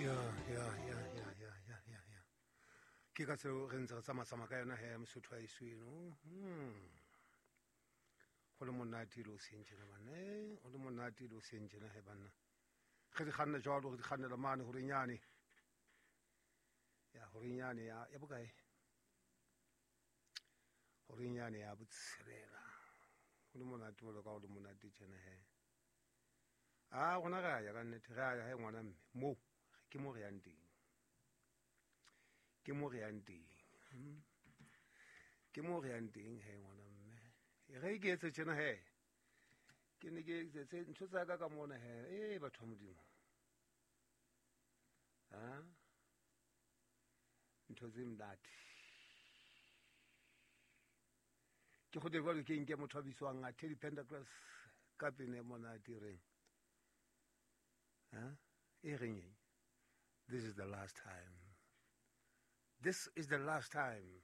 Ya, ya, ya, ya, ya, ya, ya, ya. Ke ka tseo re ntse re tsamatsamaya ka yona he, Mosotho wa eso eno. Go le monate le o seng tjena banna, go le monate le o seng tjena he banna. Re di kganna jwalo, re di kgannela mane horeng yane. Ya horeng yane ya ya bokae? Horeng yane ya botshelela. Go le monate jwalo ka go le monate tjena he. A rona re a ya ka nnete, re a ya he ngwana mme. Moo ke mo re yang teng. Ke mo re yang teng. Ke mo re yang teng he ngwana mme. Re ke etse tjena he. Ke ne ke etse ntho tsa ka ka mona he. Batho ba Modimo. Ha? Ntho tse monate. Ke kgothe jwalo ke nke motho a bitswang a Teddy Pendergrass ka pina e monate e reng. Ha? E reng eng? This is the last time. This is the last time.